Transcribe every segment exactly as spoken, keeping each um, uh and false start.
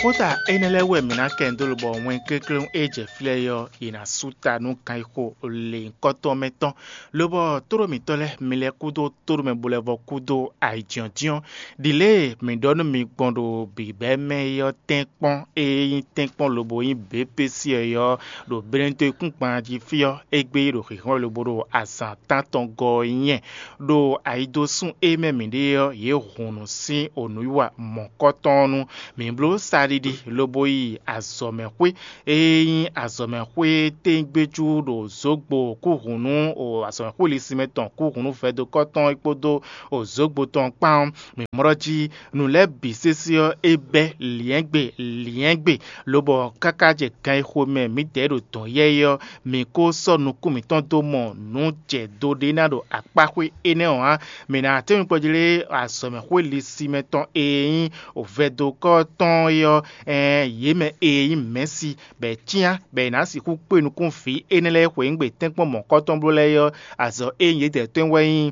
Xóta énɛ́ lɛ́ɛ wú wɛ mǐ ná kɛ nyi dó lobɔ wɛn klékléwún e jɛ fí lɛ́ɛ é ɔ́, è nǎ sú ta nú ganxixo lěhunkɔtɔn mɛ tɔn, lobɔ tóɖó mǐtɔn lɛ́ɛ, mi lɛ́ kúdó tóɖó mɛ bo lɛ́ vɔ kúdó ayǐjínjɔ́n. Ɖi lě e mǐ ɖɔ nú mi gbɔn ɖo bǐbɛ́ mɛ é ɔ́ tɛ́nkpɔ́n, e nyí tɛ́nkpɔ́n lobo nyí běpési ɔ́, ɖo Benediktín gban jí fí ɔ́, égbé ɖo xǐxɔ́n lobo ɖo azǎn tántɔn gɔ́ ɔ́ nyɛ. Ɖo ayidosún e mɛ mǐ ɖe ɔ́, yě hun nǔ sín onǔwiwa mɔ̌kɔtɔn ɔ́ nu. Mǐ bló saɖiɖi lobo yi azɔ̌mɛxwé e nyí azɔ̌mɛxwé tɛ́ngbéjú ɖo Zǒgbo kúhunú, o azɔ̌mɛxwé lisinmɛ tɔn kúhunú vɛdokɔ́ tɔn é kpódó o Zǒgbo tɔn kpán ɔ́, mǐ mlɔ́ jí nǔ lɛ́ɛ bǐ sésé ɔ́, é bɛ́ lyɛ̌ngbe lyɛ̌ngbe, lobɔ káká jɛ gan e xomɛ mǐdɛɛ ɖo dɔ̌n yɛ́yɛ́ ɔ́, mǐ ko sɔ́ nukún mǐtɔn dó mɔ nǔ jɛ do ɖé ná ɖo akpáxwé énɛ́ ɔ́ ǎ. Mǐ ná tɛ́nnu kpɔjlé azɔ̌mɛxwé lisinmɛ tɔn e nyí vɛdokɔ́ tɔn é ɔ́, ɛɛn yě mɛ e nyí mɛ̌si, bɔ è cyán bɔ è nǎ sixú kpé nukún vǐ énɛ́ lɛ́ɛ xweyǐgbe tɛ́nkpɔ́n mɔ̌kɔtɔn bló lɛ́ɛ é ɔ́, azɔ̌ e nyí yědɛɛ tɔn wɛ nyí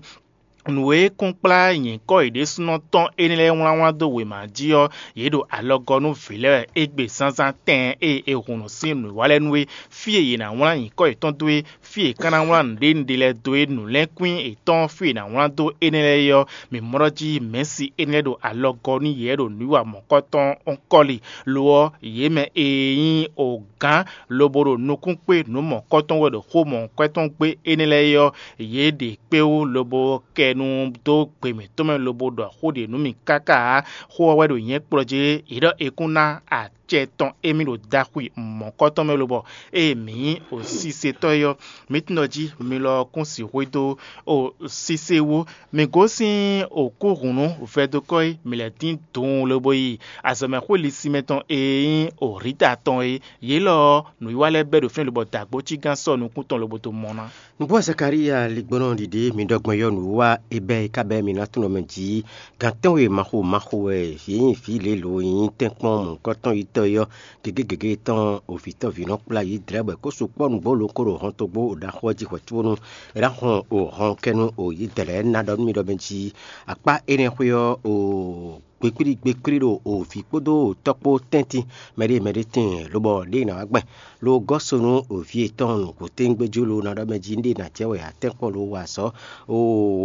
nǔ e kɔn kplá nyǐkɔ yě ɖésúnɔ tɔn énɛ́ lɛ́ɛ wlánwlán dó wěma jí ɔ́, yě ɖo alɔgɔ́ nú vǐ lɛ́ɛ wɛ égbé zánzán tɛɛn e è hun nǔ sín nǔwiwa lɛ́ɛ nú é. Fí e yě ná wlán nyǐkɔ yětɔn dó é, fí e è ka ná wlán nǔɖénúɖé lɛ́ɛ dó é, nǔlɛ́nkwín yětɔn fí e è nǎ wlán dó énɛ́ lɛ́ɛ é ɔ́, mǐ mlɔ́ jí Mɛ̌si énɛ́ ɖo alɔgɔ́ nú yě wɛ ɖo nǔwiwa mɔ̌kɔtɔn ɔ́ kɔ́li. Lo ɔ́, yě mɛ e nyí ogǎn lobo ɖo nukún kpé nǔ mɔ̌kɔtɔn wɛ ɖo xó mɔ̌kɔtɔn gbé énɛ́ lɛ́ɛ é ɔ́, yě ɖe kpé wú lobo kɛ nu dó gbe mǐtɔn mɛ lobo ɖɔ xó ɖě nú mì káká ǎ. Xó ɔ́ wɛ ɖo nyɛ̌ kplɔ́ jí, yě ɖɔ è kún ná acɛ tɔn émí ɖo daxwi mɔ̌kɔtɔn mɛ lobɔ ée mǐ nyí osísetɔ́ é ɔ́, mǐ tunwun ɖɔ jí mi lɔ ɔ́ kún sixú dó o sísé wú. Mǐ gosín okúhǔnú vɛdokɔ́ é, mǐ lɛ́ dín dun lobo yi azɔ̌mɛxwé lisinmɛ tɔn e nyí Ohlíta tɔn é. Yě lɔ ɔ́, nǔwiwa lɛ́ɛ bɛ́ ɖo fínɛ́ lobɔ dǎgbócígán sɔ́ nukún tɔn lobo dó mɔ ná. Nǔgbó Zakalíya ligbɔnɔ ɖiɖi mi ɖɔ gbɔn yɔ nǔwiwa e bɛ́ é ka bɛ́ mi ná tunwun mɛ jí. Gǎn tɛ́nwe maxo maxo wɛ yě nyí vǐ lě lo e nyí tɛ́nkpɔ́n mɔ̌hunkɔtɔn yitɔ́ é ɔ́, gěgé gěgé tɔn ovǐtɔ́ vǐnɔ kplá yě dlɛ̌ bɔ é kó sukpɔ́ nǔgbó lo kó ɖo hɔntogbó ɖaxó ɔ́ jí hwɛ̌ có nú é ná hɔn o hɔn kɛ nú o yě dlɛ̌ ná ɖɔ nú mi ɖɔ mɛ jí akpá énɛ́ xwé ɔ́ o gbekplí gbekplí ɖo o vǐ kpódó o tɔ́ kpó tɛ́ntin mɛɖé mɛɖé tíin lobɔ ɖěe ná wá gbɛn lo gɔ́ so nú o vǐ yětɔn nǔgbó téńgbé jí lo ná ɖɔ mɛ jí un ɖe ná jɛ wɛ atɛ́nkpɔ́n lo wa azɔ̌ o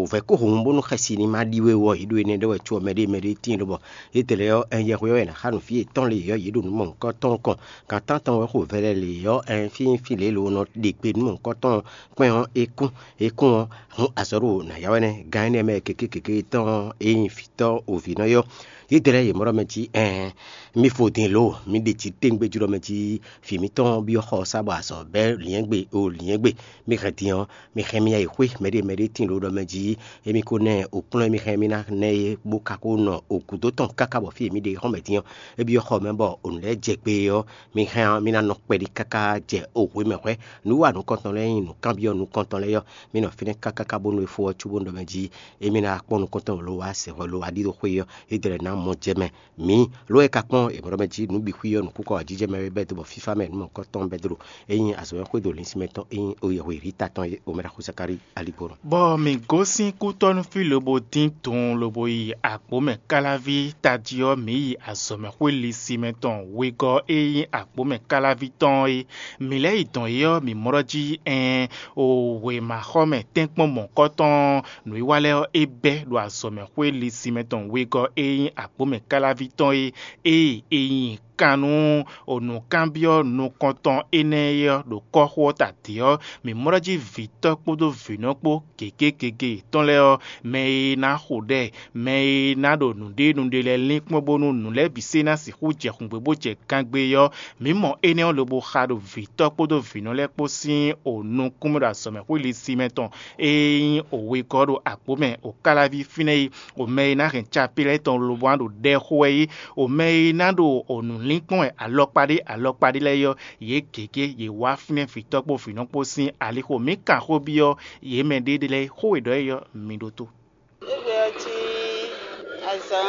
vɛ̌ kó hǒnnu bónú xɛsi ní ma ɖi we wɔ yě ɖo énɛ́ ɖé wɛ có mɛɖé mɛɖé tíin lobɔ yě dlɛ̌ ɔ́ ɛn yɛhweɔ́ wɛ ná xa nǔ fí yětɔn lě ɔ́ yě ɖo nǔ mɔ̌hunkɔtɔn kɔn. Gǎn tántɔn wɛ xo vɛlɛ lě ɔ́ ɛn fínfín lě lo nɔ ɖe gbe nǔ mɔ̌hunkɔtɔn kpɛn ɔ́ é kún é kún ɔ́ hun azɔ̌ ɖo nǎ ya wɛ nɛ́ gán énɛ́ mɛ gěgé gěgé tɔn e nyí vǐtɔ́ ovǐnɔ é ɔ́. Yě dlɛ́ yě mɔ ɖɔ mɛ jí ɛɛn mi fo din lo mi ɖe jí téŋgbé jí ɖɔ mɛ jí vǐ mǐtɔn byɔ́ xɔ ɔ́ sá bɔ azɔ̌ bɛ́ lyɛ̌ngbe o lyɛ̌ngbe. Mi hɛn din ɔ́, mi hɛn mi yi xwé mɛɖé mɛɖé tíin lo ɖɔ mɛ jí émi ko nɛ o kplɔ́n émi hɛn mi ná nɛ é bó ka ko nɔ o gǔdo tɔn káká bɔ fí e mi ɖe xɔ́n mɛ din ɔ́, é byɔ́ xɔ mɛ bɔ o nǔ lɛ́ɛ jɛ gbe ɔ́, mi hɛn ɔ́ mi ná nɔ kpɛɖí káká jɛ o hwě mɛ hwɛ́. Nǔ wa nukɔntɔn lɛ́ɛ nyí nǔkanbyɔ́ nukɔntɔn lɛ́ɛ ɔ́, mi nɔ fínɛ́ káká bónú é fó ɔ́ cóbónú ɖɔ mɛ jí émi ná kpɔ́n nukɔntɔn lo wá sɛ hwɛ lo wá ɖíɖó xwé ɔ́, é dlɛ́ ná mɔ jɛ mɛ. Mǐ lǒ e ka kpɔ́n è mɔ ɖɔ mɛ jí nǔ bǐ xwí ɔ́ nǔkúkɔ ajijɛ mɛ wɛ bɛ́ dó bɔ fífá mɛ nǔ mɔ̌hunkɔtɔn bɛ́ dó ɖo é nyí azɔ̌mɛxwé ɖo linsín mɛ tɔn é nyí oyɛhwe Rita tɔn é omɛ ɖaxó Zakalíi aligbɔnɔ. Bɔ mǐ gosín kútɔ́núfí lobo dín dun lobo yi agbǒmɛ káláví tají ɔ́, mǐ yi azɔ̌mɛxwé lisinmɛ tɔn wegɔ́ e nyí agbǒmɛ káláví tɔn é. Mǐ lɛ́ yi dɔn é ɔ́, mǐ mɔ ɖɔ jí ɛɛn o wěmaxɔmɛ tɛ́nkpɔ́n mɔ̌kɔtɔn nǔwiwa lɛ́ɛ ɔ́, é bɛ́ ɖo azɔ̌mɛxwé lisinmɛ tɔn wegɔ́ e nyí agbǒmɛ káláví tɔn é. Ée è nyi kan nú nǔkanbyɔ́ nukɔntɔn énɛ́ é ɔ́ ɖo kɔ́xo ɔ́ ta dě ɔ́, mǐ mɔ ɖɔ jí vǐtɔ́ kpódó vǐnɔ kpó gěgé gěgé yětɔn lɛ́ɛ ɔ́, mɛ e ná xo ɖɛ, mɛ e ná ɖo nǔɖé nǔɖé lɛ́ɛ lín kpɔ́n bónú nǔ lɛ́ɛ bǐ sé ná sixú jɛ xungbe bó jɛ gangbe é ɔ́, mǐ mɔ énɛ́ ɔ́ lobo xa ɖo vǐtɔ́ kpódó vǐnɔ lɛ́ɛ kpó sín o nukún mɛ ɖo azɔ̌mɛxwé lisinmɛ tɔn e nyí o wegɔ́ ɖo agbǒ mɛ o káláví fínɛ́ é. O mɛ e ná hɛn capí lɛ́ɛ tɔn lobo ná ɖo ɖɛ xo wɛ é. O mɛ e ná ɖo o nǔlínkpɔ́n wɛ alɔkpa ɖé alɔkpa ɖé lɛ́ɛ é ɔ́, yě gěgé yě wá fínɛ́ vǐtɔ́ kpó vǐnɔ kpó sín alixo. Mǐ kan xó byɔ́ yě mɛ ɖé lɛ́ɛ xó e ɖɔ é ɔ́, mi ɖótó. Égbé ɔ́ cí azǎn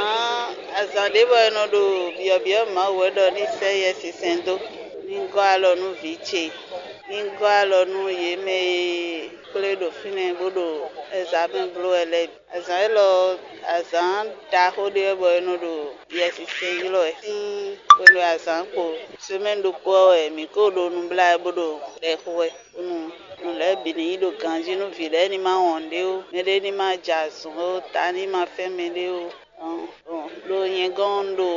azǎn ɖé bɔ è nɔ ɖo byɔ̌byɔ́ Mawu wɛ ɖɔ ní sɛ́ Yɛsinsɛn dó, ní gɔ́ alɔ nú vǐ ce, ní gɔ́ alɔ nú yě mɛ e kplé ɖo fínɛ́ bó ɖo ɛzamɛ bló wɛ lɛ́ɛ bǐ. Azǎn élɔ́, azǎn ɖaxó ɖé wɛ bɔ è nɔ ɖo Yɛsinsɛn ylɔ́ wɛ sín hwenu e azǎn kpo semɛ́ni ɖokpó ɔ́ wɛ mǐ ko ɖo nubláwɛ bó ɖo ɖɛ xo wɛ, bónú nǔ lɛ́ɛ bǐ ní yi ɖo ganjí nú vǐ lɛ́ɛ ní ma wɔn ɖé ó, mɛɖé ní ma jɛ azɔn ó, ta ní ma fɛ́n mɛɖé ó. Ɖo nyɛ gɔ́n un ɖo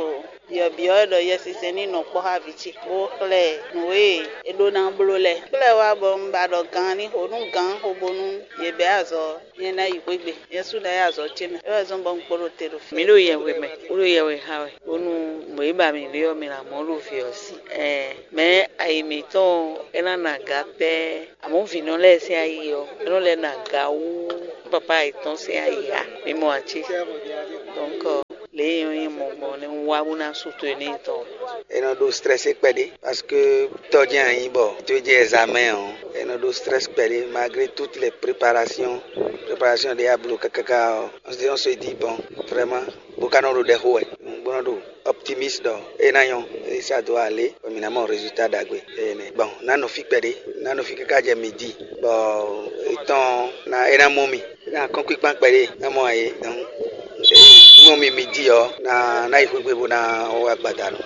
byɔ̌byɔ́ wɛ ɖɔ Yɛsinsɛn ní nɔ kpɔ́ xá vǐ ce, bó xlɛ́ ɛ nǔ e é ɖó ná bló lɛ́ɛ. Xlɛ́ wá bɔ un ba ɖɔ gan ní xo nú gǎn xo bónú yě bɛ́ azɔ̌, nyɛ ná yi xwé gbe, nyɛ sú ná yi azɔ̌ ce mɛ. É wɛ zɔ́n bɔ un kpo ɖo te ɖo fí. Mǐ ɖo yɛhwe mɛ, bó ɖo yɛhwe xa wɛ, bónú mɔ̌ e ba mǐ ɖe ɔ́, mǐ ná mɔ ɖo vǐ ɔ́ sí. Ɛɛ, mɛ̌ ayi mǐtɔn ɔ́, é ná na aga pɛ́. Amɔ̌ vǐnɔ lɛ́ɛ sín ayi ɔ́, é nɔ lɛ́ na aga wú papá yětɔn sín ayi ǎ. Mi mɔ ǎ cé? Donc, lě e nyɔ́ nyí mɔ gbɔn nɛ́ un wá bó ná sú to e n'i tɔn. É nɔ ɖó stressé kpɛɖé, parce que tɔ́ jɛ́n a nyǐ bɔ tó jɛ examen ɔ́, é nɔ ɖó stress kpɛɖé malgré toutes les préparations. Préparation ɖé a bló kákáká ɔ́, on se dit bon, vraiment, bó ka nɔ ɖo ɖɛ xo wɛ, bó nɔ ɖo optimiste ɖɔ é ná nyɔ́, é ça doit aller, bɔ mǐ ná mɔ résultat ɖagbe. Énɛ́. Bon, ná nɔ fí kpɛɖé, ná nɔ fí káká jɛ midi, bɔ étɔn ná é ná mɔ mì, é ná kɔ́n kpíkpán kpɛɖé, ná mɔ ayé, donc mɔ mì midi ɔ́, ná ná yi xwégbe bó ná wá gbadanu.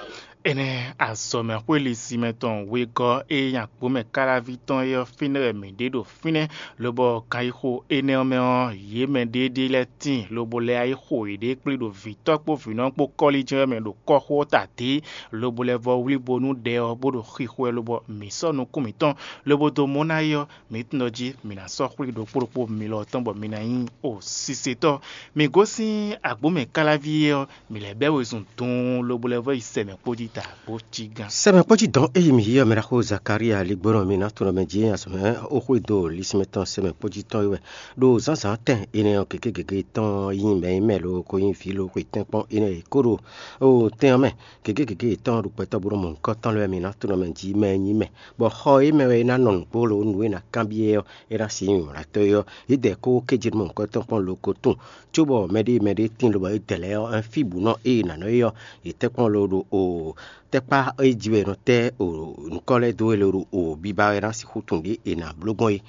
Énɛ́ azɔ̌mɛxwé lisimɛ tɔn wegɔ́ e nyí agbǒmɛ káláví tɔn é ɔ́, fínɛ́ wɛ mǐ ɖe ɖo fínɛ́, lobɔ kan yi xo énɛ́ ɔ́ mɛ ɔ́, yě mɛ ɖéeɖée lɛ́ɛ tíin, lobo lɛ́ yi xo yěɖée kplé ɖo vǐtɔ́ kpó vǐnɔ kpó kɔ́líjɛ́n mɛ ɖo kɔ́xo ɔ́ ta dě, lobo lɛ́ vɔ wlí bónú ɖɛ ɔ́, bó ɖo xixo ɛ, lobɔ mǐ sɔ́ nukún mǐtɔn, lobo dó mɔ ná é ɔ́, mǐ tunwun ɖɔ jí mǐ ná sɔ́ xwlí ɖokpó ɖokpó milɔ tɔn bɔ mi ná nyí o sisetɔ́. Mǐ gosín agbǒmɛ káláví é ɔ́, mǐ lɛ́ bɛ́ wezun duun lobo lɛ́ vɔ yi sɛmɛ kpó jí ta bó cí gán. Sɛmɛ kpó jí dɔn é yi mǐ yi ɔ́, mɛ ɖaxó Zakária ligbɔnɔ mi ná tunɔ mɛ jí azɔ̌ mɛ ó xwedó lisínmɛ tɔn sɛmɛ kpó jí tɔn é wɛ. Ɖo zǎnzǎn tɛn énɛ́ ɔ́, gěgé gěgé tɔn ɔ́ nyí mɛ e mɛ lo ko nyí vǐ lo xwe tɛ́nkpɔ́n énɛ́ e kó ɖo ó tɛn ɔ́ mɛ. Gěgé gěgé yětɔn ɖo gbɛtɔ́ bó nɔ mɔ nukɔn tɔn lɛ́ɛ wɛ mi ná tunɔ mɛ jí mɛ e nyí mɛ, bɔ xɔ e mɛ wɛ é ná nɔ nǔgbó lo nǔ e è nǎ kanbyɔ́ ɛ ɔ́, é ná sixú nyí wlǎtɔ́ é ɔ́, yědɛɛ kó kéjénúmɛ nukɔntɔn kpɔ́n lo ko tunwun, cóbɔ mɛɖée mɛɖée tíin lobo é dɛ lɛ́ɛ ɔ́, fí bǔ nɔ ée è nǎ nɔ é ɔ́, yě tɛ́nkpɔ́n lo ɖo o tɛ́kpá é jí wɛ è nɔ tɛ́ o nǔkɔ́ lɛ́ɛ dó wɛ lo ɖo o biba wɛ ná sixú tunwun ɖě è nǎ bló gbɔn é.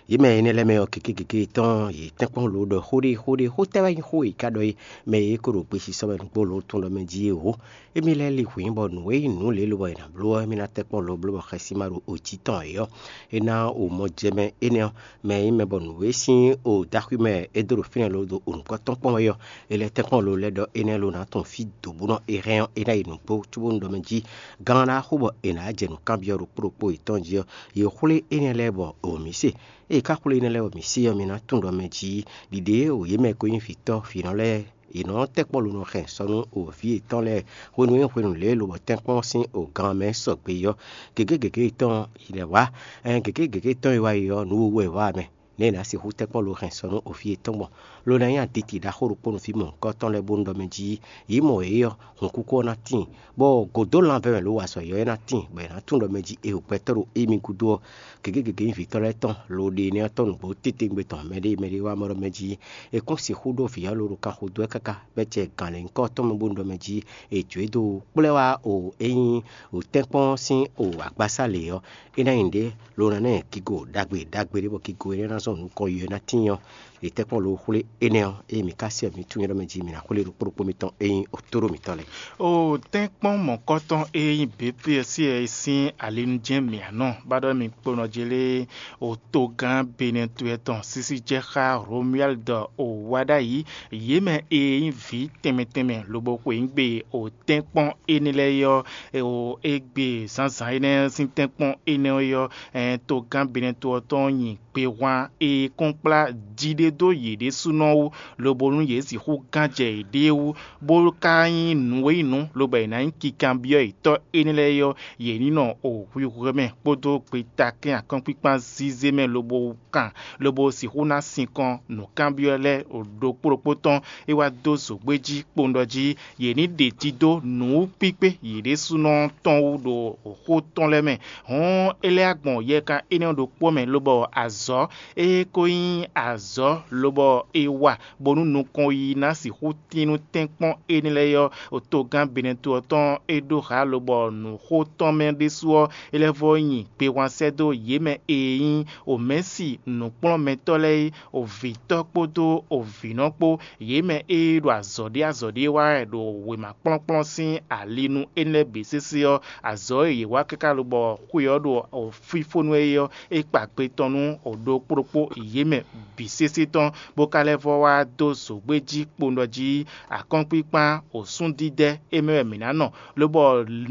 Yě mɛ énɛ́ lɛ́ɛ mɛ ɔ́, gěgé gěgé tɔn yě tɛ́nkpɔ́n lo ɖɔ xó ɖé xó ɖé xó tɛ́ wɛ nyí xó e è ka ɖɔ é, mɛ e é ko ɖo gbesisɔ wɛ nǔgbó lo tunwun ɖɔ mɛ jí é hǒ. Émí lɛ́ɛ li hwǐn bɔ nǔ e nyí nǔ lě lobɔ è nǎ bló ɔ́, émí ná tɛ́ kpɔ́n lo bló bɔ xɛsi ma ɖo ojí tɔn é ɔ́, é ná o mɔ jɛ mɛ énɛ́ ɔ́, mɛ e nyí mɛ bɔ nǔ e sín o dó axwí mɛ é dó ɖo fínɛ́ lo ɖo o nǔkɔn tɔn kpɔ́n wɛ ɔ́, é lɛ́ tɛ́ kpɔ́n lo lɛ́ ɖɔ énɛ́ lo ná tunwun fí dǒ bó nɔ é hɛn ɔ́, é ná yi nǔgbó cóbónú ɖɔ mɛ jí gán ná xo bɔ è nǎ jɛ nǔkanbyɔ́ ɖokpó ɖokpó yětɔn jí ɔ́, yě xwlé énɛ́ lɛ́ɛ bɔ o mǐ se. Ée è ká xwlé énɛ́ lɛ́ɛ bɔ mǐ se ɔ́, mi ná tunwun ɖɔ mɛ jí ɖiɖe e o yě mɛ e ko nyí vǐtɔ́ vǐnɔ lɛ́ɛ yě nɔ tɛ́ kpɔ́ lo nɔ hɛn sɔ nú o vǐ yětɔn lɛ́ɛ hwenu e hwenu lě e lobɔ tɛ́nkpɔ́n sín o gan mɛ sɔgbe ɔ́, gěgé gěgé tɔn yi lɛ́ wá, ɛn gěgé gěgé tɔn e wá yi ɔ́, nǔ wowu wɛ è wá mɛ, nɛ̌ è nǎ sixú tɛ́ kpɔ́ lo hɛn sɔ nú o vǐ yětɔn gbɔn? Lo ná nyí aditi ɖaxó ɖokpó nú vǐ mɔ̌hunkɔtɔn lɛ́ɛ bónú ɖɔ mɛ jí yě mɔ yě ɔ́, hǔnkúkú ɔ́ ná tíin, bɔ gǒdó lanvɛ́ mɛ lo wa azɔ̌ yɔ́yɔ́ ná tíin, bɔ è nǎ tunwun ɖɔ mɛ jí è ɖo gbɛtɔ́ ɖo émí gúdo ɔ́, gěgé gěgé nyí vǐtɔ́ lɛ́ɛ tɔn, lo ɖe énɛ́ ɔ́ tɔn nǔgbó titewungbe tɔn mɛɖée mɛɖée wá mɔ ɖɔ mɛ jí è kún sixú ɖó vǐ ɔ́ lo ɖo kanxo dó wɛ káká bɔ é jɛ gǎnlɛ̌nyíkɔ tɔn mɛ bónú ɖɔ mɛ jí è jǒ e dó kplɔ́ wá o é nyí o tɛ́nkpɔ́n sín o agbasá lě ɔ́, é ná nyí nǔɖé lo ná ná nyi kigo ɖagbe ɖagbe ɖé bɔ kigo énɛ́ ná zɔn nukɔn yi ɔ́ ná tíin ɔ́, è tɛ́ kpɔ́n lo xwlé énɛ́ ɔ́, ée mi ka se ɔ́, mi tunwun nyi ɖɔ mɛ jí mi ná xwlé ɖokpó ɖokpó mitɔn e nyí otó ɖo mǐtɔn lɛ́ɛ. O tɛ́nkpɔ́n mɔ̌kɔtɔn e nyí B P S sín alinujɛ́n mǐanɔ ba ɖɔ mi kponɔ jí lé, o togán Benɛtue tɔn sísí jɛ xá Romuald o wá ɖ'ayǐ, yě mɛ e nyí vǐ tɛnmɛ tɛnmɛ lobo xweyǐgbe o tɛ́nkpɔ́n énɛ́ lɛ́ɛ é ɔ́, o égbé zǎnzǎn énɛ́ sín tɛ́nkpɔ́n énɛ́ ɔ́ é ɔ́, togán Benɛtue ɔ́ tɔn nyi gbehwan e kɔn kplá jí ɖé dó yě ɖésúnɔ wú, lobo nú yě sixú gán jɛ yěɖée wú, bó ka nyí nǔ e nyí nǔ, lobo è nǎ nyí kikanbyɔ́ yětɔn énɛ́ lɛ́ɛ é ɔ́, yě ní nɔ o hwihwɛ mɛ kpódó gbetakɛ́n akɔ́nkpíkpán zízé mɛ lobo kan, lobo sixú ná sinkɔn nǔkanbyɔ́ lɛ́ɛ ɖokpó ɖokpó tɔn, é wá dó zǒgbé jí kpowun ɖɔ jí yě ní ɖe dídó nǔ kpíkpé yě ɖésúnɔ tɔn wú ɖo xó tɔn lɛ́ɛ mɛ. Hɔ̌n é lɛ́ wá gbɔn yɛkan énɛ́ ɔ́ ɖokpó mɛ, lobɔ azɔ̌ Ée ko nyí azɔ̌ lobɔ è wa bónú nukɔn yiyi ná sixú tín nú tɛ́nkpɔ́n énɛ́ lɛ́ɛ ɔ́, togán Benɛto ɔ́ tɔn é ɖó hǎ lobɔ nǔxótɔ́ mɛ ɖésú ɔ́, é lɛ́ vɔ́ nyi gbehwan sɛ́ dó yě mɛ e nyí omɛ̌si nǔkplɔ́nmɛtɔ́ lɛ́ɛ é, ovǐtɔ́ kpódó ovǐnɔ kpó, yě mɛ e ɖo azɔ̌ ɖé azɔ̌ ɖé wa wɛ ɖo wěma kplɔ́nkplɔ́n sín ali nú énɛ́ lɛ́ɛ bǐ sésé ɔ́, azɔ̌ e yě wa káká lobɔ xwe ɔ́ ɖo fífónú é ɔ́, é kpa gbe tɔn nú ɖokpó ɖokpó yě mɛ bǐ sésé tɔn, bó ka lɛ́ vɔ́ wá dó zǒgbé jí kpowun ɖɔ jí akɔ́nkpinkpan osúndídɛ́ é mɛ wɛ mǐ ná nɔ, lobɔ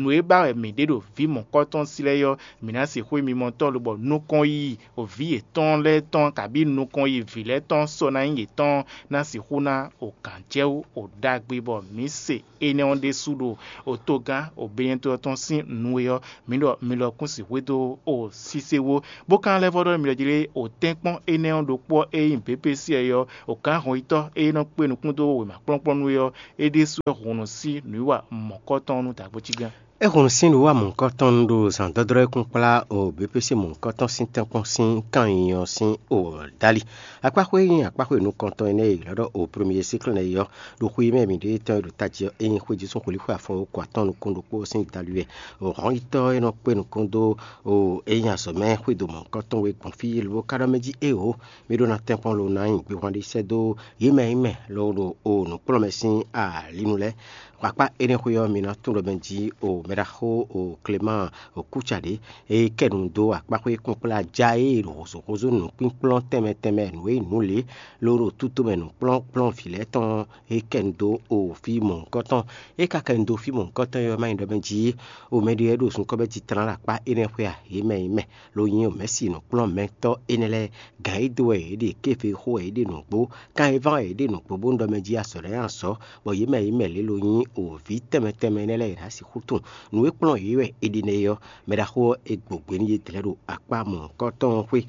nǔ e ba wɛ mǐ ɖe ɖo vǐ mɔ̌kɔ́tɔn sí lɛ́ɛ ɔ́, mǐ ná sixú nyí mimɔtɔ́ lobɔ nukɔn yiyi vǐ yětɔn lɛ́ɛ tɔn kabí nukɔn yiyi vǐ lɛ́ɛ tɔn sɔ ná nyí yětɔn ná sixú ná o gǎn jɛ wú o ɖagbe bɔ mǐ se énɛ́ ɔ́ ɖésú ɖo otogán obɛ́nyɛ́tɔ́ tɔn sín nu e ɔ́, mǐ ɖɔ mi lɔ kún sixú dó o sise wó, bó ka lɛ́ vɔ́ ɖɔ mi lɔ jí ɖé o tɛ́nkpɔ́n énɛ́ ɔ́ ɖokpó ɔ́ e nyí běpési ɔ́, o gǎn hɔnyitɔ́ e nɔ kpé nukún dó wěma kplɔ́nkplɔ́n nu é ɔ́, é ɖésú wɛ hun nǔ sí nǔwiwa mɔ̌kɔtɔn nú dǎgbó cí gán. É hun nǔ sín nǔwiwa mɔ̌hunkɔtɔn ɖo zǎndɔ́drɔ́ e kún kplá o běpési mɔ̌hunkɔtɔn sín tɛ́nkpɔ́n sín kan nyi ɔ́ sín o dali. Akpáxwé e nyí akpáxwé nukɔntɔn énɛ́ e è ylɔ́ ɖɔ o premier cycle nɛ́ é ɔ́, ɖo xwe e mɛ mǐɖée tɔn e ɖo tají ɔ́, é nyí xwéjésú xwelíxwe afɔ ko atɔ́ɔ́n nukún ɖokpó sín dali wɛ. Hɔnyitɔ́ e nɔ kpé nukún dó o é nyí azɔ̌mɛ xwédo mɔ̌hunkɔtɔn we gbɔn fí lobo ka ɖɔ mɛ jí éeǒ, mì ɖó ná tɛ́nkpɔ́n lo ná nyi gbehwan ɖé sɛ́ dó yě mɛ e nyí mɛ lobo ɖo o nǔkplɔ́nmɛ sín alinu lɛ́ɛ. Xɔ akpá énɛ́ xwé ɔ́, mi ná tunwun ɖɔ mɛ jí o mɛɖaxó o Klemáan o Kúcaɖě e kɛ nu dó akpáxwé kpínkplɔ́n ajá e ɖo hǒzúhózú nǔkpínkplɔ́n tɛnmɛ tɛnmɛ nǔ e nǔ lě ló ɖo tútomɛ nǔkplɔ́nkplɔ́n vǐ lɛ́ɛ tɔn e kɛ nu dó o fí mɔ̌hunkɔtɔn. É ka kɛ nu dó fí mɔ̌hunkɔtɔn e ɔ́, má nyí ɖɔ mɛ jí o mɛɖé lɛ́ɛ ɖo zunkɔ́ bɛ́ jí tlán ɖo akpá énɛ́ xwé a? Yě mɛ e nyí mɛ lo nyí o mɛ̌si nǔkplɔ́nmɛtɔ́ énɛ́ lɛ́ɛ, gǎn e dó wɛ yě ɖe, kéve xó wɛ yě ɖe nǔgbó, kan e ván wɛ yě ɖe nǔgbó bónú ɖɔ mɛ jí azɔ̌ lɛ́ɛ nyi azɔ̌, bɔ yě mɛ e nyí mɛ lě lo nyí o vǐ tɛnmɛ tɛnmɛ énɛ́ lɛ́ɛ è nǎ sixú tunwun. Nǔ e kplɔ́n yě wɛ è ɖe nɛ́ é ɔ́, mɛɖaxó ɔ́ è gbǒgbé nú yědɛɛ ɖo akpá mɔ̌hunkɔtɔn ɔ́ xwé.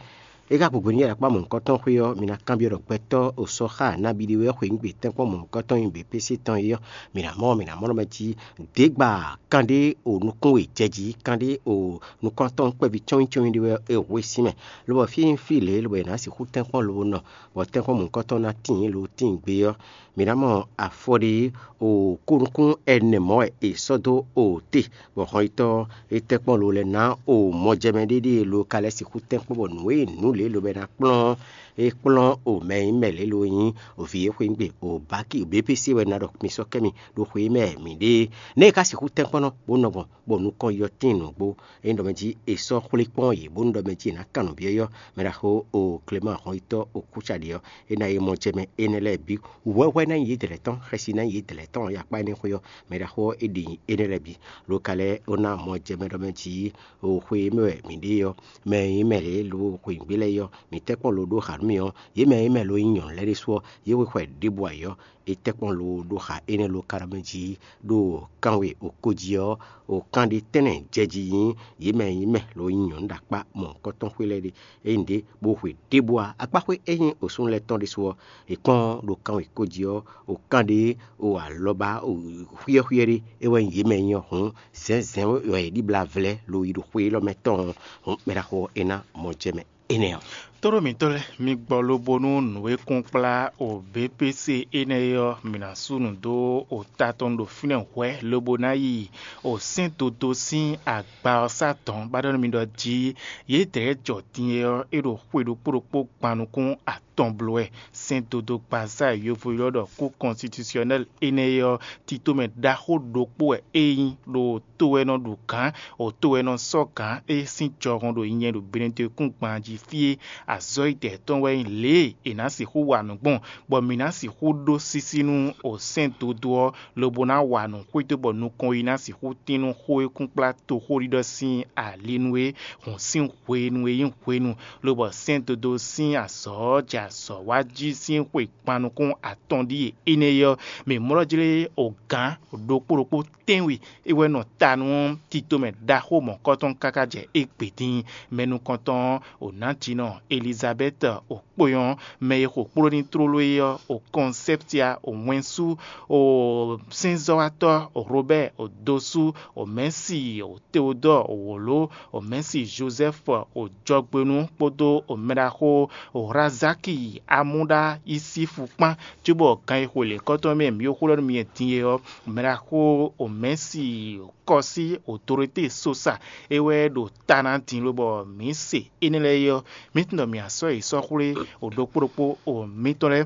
É ka gbǒgbé nú yě ɖo akpá mɔ̌hunkɔtɔn xwé ɔ́, mi ná kanbyɔ́ ɖɔ gbɛtɔ́ o sɔ́ xá nǎ ɖiɖe wɛ xweyǐgbe tɛ́nkpɔ́n mɔ̌hunkɔtɔn nyi běpése tɔn é ɔ́, mi ná mɔ mi ná mɔ nɔ mɛ jí dě gba kanɖé o nukún e jɛ jí, kanɖé o nukɔntɔn kpɛví cɔ́nnyícɔ́nnyi ɖé wɛ é hwe sín mɛ, lobɔ fí nyí fí lě lobɔ è nǎ sixú tɛ́nkpɔ́n lobo nɔ, bɔ tɛ́nkpɔ́n mɔ̌hunkɔtɔn ná tíin lo tíin gbe ɔ́, mǐ ná mɔ afɔ ɖé o kúnukún ɛnɛ mɔ̌ wɛ è sɔ́ dó o te, bɔ hɔnyitɔ́ e tɛ́nkpɔ́n lo lɛ́ɛ ná o mɔjɛmɛ ɖéɖée lo ka lɛ́ sixú tɛ́nkpɔ́n bɔ nǔ e nǔ lě lobo è nǎ kplɔ́n é kplɔ́n o mɛ e nyí mɛ lě lo nyí o vǐ e xweyǐgbe o báki o běpése wɛ ná ɖɔ mi sɔ́ kɛ mi ɖo xwe e mɛ mǐ ɖe é. Nɛ̌ è ka sixú tɛ́nkpɔ́n nɔ bó nɔ gbɔn bɔ nukɔn yɔ tíin nǔgbó? Ényí ɖɔ mɛ jí è sɔ́ xwlé kpɔ́n yě bónú ɖɔ mɛ jí è nǎ kan nǔ byɔ́ yɔ́, mɛ ɖaxó o Klemáan hɔnyitɔ́ o Kúcaɖě ɔ́, é ná yi mɔ jɛ mɛ énɛ́ lɛ́ɛ bǐ. Wǔhwɛ́hwɛ́ ná nyí yědɛɛ tɔn, xɛsi ná nyí yědɛɛ tɔn, yakpá énɛ́ xwé ɔ́, mɛ ɖaxó ɔ́, é ɖi nyi énɛ́ lɛ́ɛ bǐ. Lo ka lɛ́ɛ ó ná mɔ jɛ mɛ ɖɔ mɛ jí o xwe e mɛ wɛ mǐ ɖe ɔ́, mɛ e nyí mɛ lě lo xweyǐgbe lɛ́ɛ ɔ́, mǐ tɛ́ kpɔ́n lo ɖó xa nú mì ɔ́, yě mɛ e nyí mɛ lo nyí nyɔ̌nu lɛ́ɛ ɖésú ɔ́, yě xwe xwɛ ɖěbǔ ayǐ ɔ́, é tɛ́ kpɔ́n lo ɖó xa énɛ́ lo ka ɖɔ mɛ jí ɖo kanwe o ko jí ɔ́, o kan ɖé tɛ́nnɛ jɛ jí nyí yě mɛ e nyí mɛ lo nyí nyɔ̌nu ɖo akpá mɔ̌hunkɔtɔn xwé lɛ́ɛ ɖe. Ényí ɖě bó xwe ɖěbǔ ǎ, akpáxwé e nyí osúnnu lɛ́ɛ tɔn ɖésú ɔ́, è kpɔ́n ɖo kanwe ko jí ɔ́, o kan ɖé o alɔba o xwíɛ́xwíɛ́ ɖé é wɛ nyí yě mɛ e nyí ɔ́ hǔn, zɛ̌nzɛ̌n wɛ è ɖíblá vlɛ́ lo yi ɖo xwe élɔ́ mɛ tɔn ɔ́, hǔn mɛ ɖaxó ɔ́ é ná mɔ jɛ mɛ énɛ́ ɔ́. Tóɖó mǐtɔn lɛ́ɛ, mi gbɔ lobo nú nǔ e kún kplá o B P C énɛ́ é ɔ́, mǐ ná sú nǔ dó o ta tɔn ɖo fínɛ́ hwɛ̌ lobo ná yi o sɛ́n dodó sín agba ɔ́ sá dɔ̌n, bá ɖɔ nú mi ɖɔ jí yědɛɛ jɔ din é ɔ́, é ɖo xwe ɖokpó ɖokpó gban nukún atɔn bló wɛ. Sɛ́n dodó gbazá e yovo ylɔ́ ɖɔ kú kɔnstitisyɔnɛ́l énɛ́ é ɔ́, titomɛ ɖaxó ɖokpó wɛ é nyí ɖo to wɛ nɔ ɖu gǎn, o to wɛ nɔ sɔ́ gǎn é sín jɔhɔn ɖo nyɛ ɖo Benɛtɔ́ kún gban jí fí é. Azɔ̌ yi dɛ̌ tɔn wɛ nyí lě e è nǎ sixú wa nǔ gbɔn, bɔ mǐ ná sixú ɖó sísí nú o sɛ́n dodó ɔ́, lobo ná wa nǔ xwedó bɔ nukɔn yi ná sixú tín nú xó e kún kplá toxóɖiɖɔ sín ali nú é, hǔn sín hwenu e nyí hwenu, lobɔ sɛ́n dodó sín azɔ̌ ɔ́ ja azɔ̌ wá jí sín xwe kpan nukún atɔn ɖíe énɛ́ ɔ́, mǐ mlɔ́ jlé ogǎn ɖokpó ɖokpó tɛ́nwe é wɛ nɔ ta nú tito mɛ ɖaxó mɔ̌kɔtɔn káká jɛ égbé dín. Mɛ nukɔntɔn ɔ́, o nǎjínɔ Elizabɛ́ti, o kpó nyɔ́, mɛ e xo kpló ní tlóló é ɔ́, o Kɔnsɛ́ptia, o Wɛnsú, o sɛ́nzɔ́watɔ́, o Robɛ́ɛ, o Dosú, o Mɛ̌si, o Teodɔ́ɔ, o wǒló, o Mɛ̌si Jozɛ́fu, o jɔgbénu kpódó o mɛɖaxó, o Hlazáki, Amúɖá, Yisífu kpán, cóbɔ gan e xwe lěkɔ́tɔn mɛ mǐ xo ɖɔ nú mi din é ɔ́, mɛɖaxó o Mɛ̌si Kɔsí, o Dorotée Sosa, é wɛ ɖo ta ná din lobɔ mǐ se énɛ́ lɛ́ɛ é ɔ́, mǐ tunwun ɖɔ mǐ a sɔ́ yě sɔ́ xwlé o ɖokpó ɖokpó o mǐtɔn lɛ́ɛ.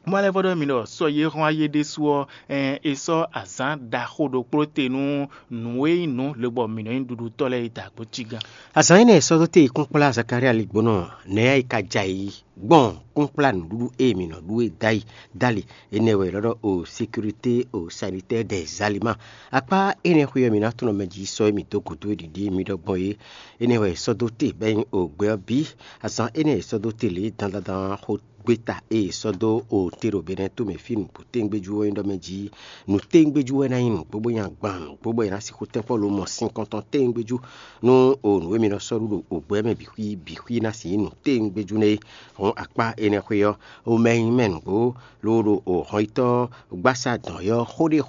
Mɔ lɛ́ vɔ ɖɔ mi ɖɔ sɔ yé hɔn ayé ɖésú ɔ́, ɛn, è sɔ́ azǎn ɖaxó ɖokpó te nú nǔ e nyí nǔ lobɔ mǐ nɔ nyí ɖuɖutɔ́ lɛ́ɛ yi da gbo cí gán. Azǎn énɛ́ e sɔ́ dó te kúnkplá Zakalía ligbónɔ nɛ̌ e ka ja yi gbɔn kúnkplá nǔɖuɖu e mǐ nɔ ɖu é dó ali dó ali énɛ́ wɛ è nɔ ɖɔ o sécurité o sanitɛ́ɛ des aliments. Akpá énɛ́ xwé ɔ́, mǐ ná tunɔ mɛ jí sɔ́ e mǐ dó gǔdo e ɖiɖi mǐ ɖɔ gbɔn é. Énɛ́ wɛ è sɔ́ dó te bɔ é nyí o gbɛ ɔ́ bǐ. Azǎn énɛ́ e è sɔ́ dó te lě dandandan xó gbéta e è sɔ́ dó o te ɖo Benɛ́ɛ to mɛ fí nǔgbó téŋgbéjú ɔ́ nyí ɖɔ mɛ jí nǔ téŋgbéjú wɛ ná nyí nǔgbó bó nyí agban nǔgbó bɔ è nǎ sixú tɛ́nkpɔ́ lomɔ sinkɔntɔn téŋgbéjú nú o nǔ e mi nɔ sɔ́ ɖu ɖo o gbɛ mɛ bǐ xwí bǐ xwí ná sixú nyí nǔ téŋgbéjú nɛ́ é. Hɔn akpá énɛ́ xwé ɔ́, o mɛ e nyí mɛ nǔgbó loo ɖo o hɔnyitɔ́ gbásá dɔn ɔ́ xóɖéxóɖé